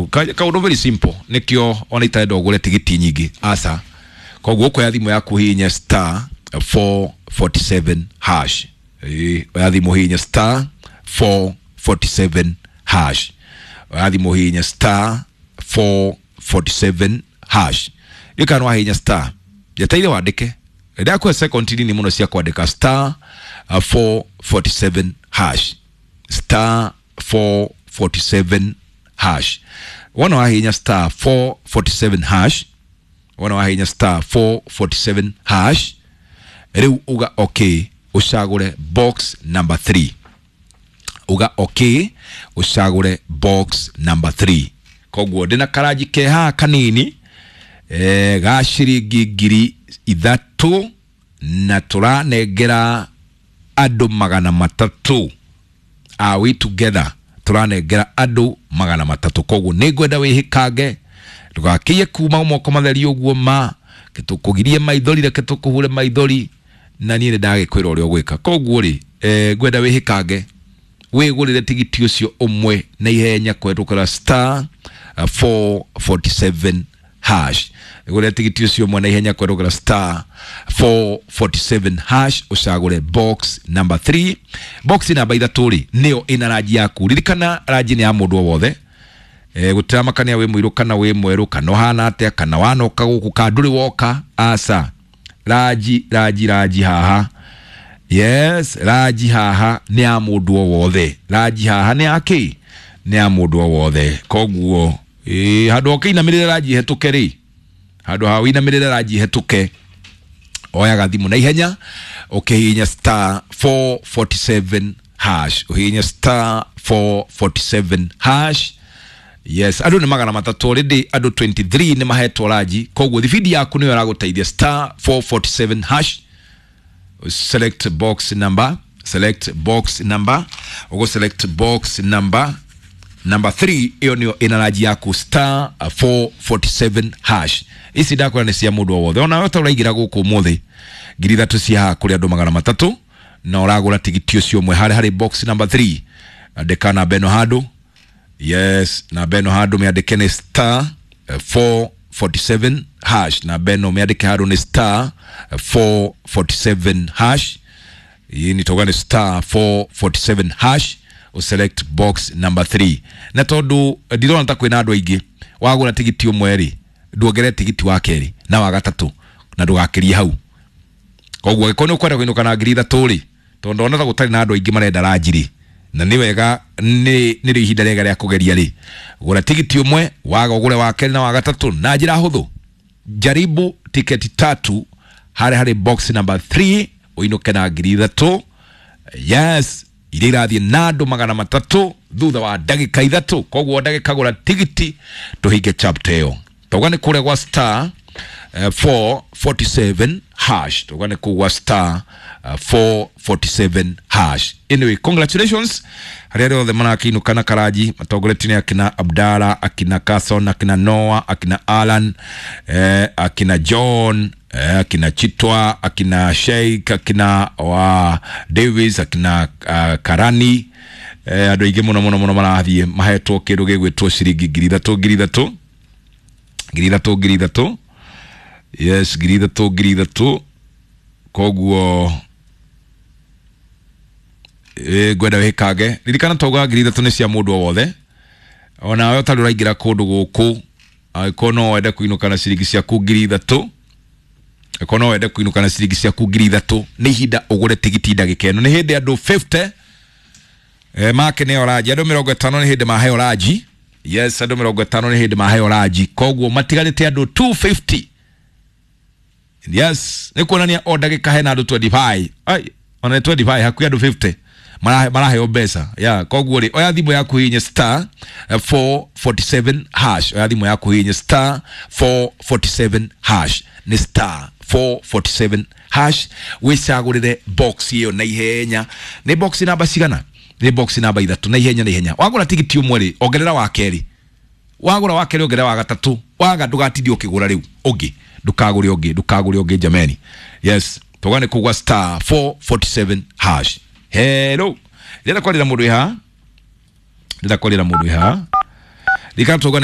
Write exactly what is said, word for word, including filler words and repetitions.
ithatũ. Ka- kaũndũ very simple, nĩkĩo ona itarenda ũgũre tigiti nyingĩ, aca. Koguo ũkoya thimũ yaku, hihinye star four forty-seven hash. Ĩĩ, oya thimũ, hihinye star four forty-seven hash. Oya thimũ, hihinye star four forty-seven hash. Ĩka no wahihinya star, njeteire wandĩke, ndakũhe second nini mũno cia kwandĩka star uh, four forty-seven hash, star four forty-seven hash. Wona wahihinya star four forty-seven hash, wona wahihinya star four forty-seven hash, rĩu uga okay, ũcagũre box number three. Uga okay, ũcagũre box number three. Koguo ndĩna karanji ke haha kanini eh, ga ciringi ngiri ithatũ na tũranengera andũ magana matatũ. Are we together? Tũranengera andũ magana matatũ, koguo nĩ ngwenda wĩhĩkange, ndũgakĩiye kuma moko matheri ũguo, ma tũkũgirie maithori, reke tũkũhure maithori, na niĩ nĩ ndagĩkwĩra ũrĩa ũgwĩka. Koguo rĩ, eh, ngwenda wĩhĩkange, wĩgũrĩre tigiti ũcio ũmwe na ihenya kũhetũkĩra star uh, four forty-seven hash. Wĩgũrĩre tigiti ũcio ũmwe na ihenya kũhetũkĩra star four forty-seven hash, ũcagũre box number three. Box namba ithatũ rĩ, nĩyo ĩna ranji yaku. Ririkana, ranji nĩ ya mũndũ o wothe, e, gũtiramakania wĩ mũirũ kana wĩ mwerũ, kana ũhana atĩa, kana wanoka gũkũ kana ndũrĩ woka, aca. Ranji, ranji, ranji haha, yes, ranji haha nĩ ya mũndũ o wothe. Ranji haha nĩ ya kĩ? Nĩ ya mũndũ o wothe. Koguo ĩ handũ ũkĩinamĩrĩre ranji hetũke rĩ, handũ ha ũinamĩrĩre ranji hetũke, oyaga thimũ na ihenya, ũkĩhihinya star four forty-seven hash, ũhihinye star four forty-seven hash. Yes, andũ nĩ magana matatũ already, andũ mĩrongo ĩĩrĩ na ithatũ nĩ mahetwo ranji, koguo thibindi yaku nĩyo ĩragũteithia. Star four forty-seven hash, select box number, select box number, ugo select box number number three, ĩyo nĩyo ĩna ranji yaku, star four forty-seven hash. Ici ndakwĩra nĩ cia mũndũ o wothe, ona ta ũraingĩra gũkũ ũmũthĩ, ngiri ithatũ cia haha kũrĩ andũ magana matatũ, na ũragũra tigiti ũcio ũmwe harĩ harĩ box number three. Andĩka namba ĩno handũ, yes, namba ĩno handũ mĩandĩke nĩ star eh, four forty-seven hash. Namba ĩno mĩandĩke handũ nĩ star eh, four forty-seven hash. Hii ni toga nĩ star four forty-seven hash, select box number three. Na tondu ndirona ta kwĩna andũ aingĩ, wagũra tigiti ũmwe rĩ, nduongerere tigiti wa kerĩ na wa gatatũ, na ndũgakĩrie hau. Koguo angĩkorwo nĩ ũkwenda kũinũka na ngiri ithatũ rĩ, tondũ ndona ta gũtarĩ na andũ aingĩ marenda ranji rĩ, na nĩ wega, nĩ nĩrĩo ihinda rĩega rĩa kũgeria rĩ, gũra tigiti ũmwe, waga ũgũre wa kerĩ na wa gatatũ na njĩra hũthũ. Jaribu tiketi tatu harĩ harĩ box number three, ũinũke na ngiri ithatũ, yes, iria irathiĩ na andũ magana matatũ thutha wa ndagĩka ithatũ. Koguo ndagĩka gũra tigiti, tũhinge chapter ĩyo. Tauga nĩ kũrĩa gwa star eh, four forty-seven hash, tauga nĩ kũu gwa star eh, four forty-seven hash. Anyway, congratulations harĩa arĩa othe marakĩinũka na karanji, matongoretio nĩ akina Abdala, akina Carson, akina Noah, akina Alan, eh, akina John, eh, akina Chitwa, akina Sheikh, akina wa Davis, akina uh, Karani, eh, andũ aingĩ mũno mũno mũno marathiĩ mahetwo kĩndũ gĩgwĩtwo ciringi ngiri ithatũ, ngiri ithatũ, ngiri ithatũ, ngiri ithatũ, yes, ngiri ithatũ, ngiri ithatũ. Koguo ĩ ngwenda wĩkange, ririkana tauga ngiri ithatũ nĩ cia mũndũ o wothe, onawe ũtarĩ ũraingĩra kũndũ gũkũ, angĩkorwo no wende kũinũka na ciringi ciaku ngiri ithatũ, angĩkorwo no wende kũinũka na ciringi ciaku ngiri ithatũ, nĩ ihinda ũgũre tigiti ndagĩka ĩno. Nĩ hĩndĩ andũ mĩrongo ĩtano eh, make nĩ oranji, andũ mĩrongo ĩtano nĩ hĩndĩ maheo ranji. Yes, andũ mĩrongo ĩtano nĩ hĩndĩ maheo ranji, koguo matigarĩte andũ magana merĩ na mĩrongo ĩtano. Yes, nĩ kuonania o ndagĩka hena andũ mĩrongo ĩĩrĩ na ithano, ai, ona nĩ mĩrongo ĩĩrĩ na ithano, hakuhĩ andũ mĩrongo ĩtano marahe- maraheo mbeca ya. Koguo rĩ, oya thimũ yaku, hihinye star eh, four forty-seven hash. Oya thimũ yaku, hihinye star four forty-seven hash, nĩ star four forty-seven hash, wĩcagũrĩre box ĩyo na ihenya. Nĩ box namba cigana? Nĩ box namba ithatũ. Na ihenya, na ihenya, wagũra tigiti ũmwe rĩ, ongerera wa kerĩ, wagũra wa kerĩ, ongerera wa gatatũ, waga ndũgatindie ũkĩgũra rĩu ũngĩ, ndũkagũre ũngĩ, ndũkagũre ũngĩ jameni. Yes, tũga nĩ kugwa star four forty-seven hash. Hello, ndĩrenda kwarĩra mũndũ ĩ haha, ndĩrenda kwarĩra mũndũ ĩ haha, rikana tũga.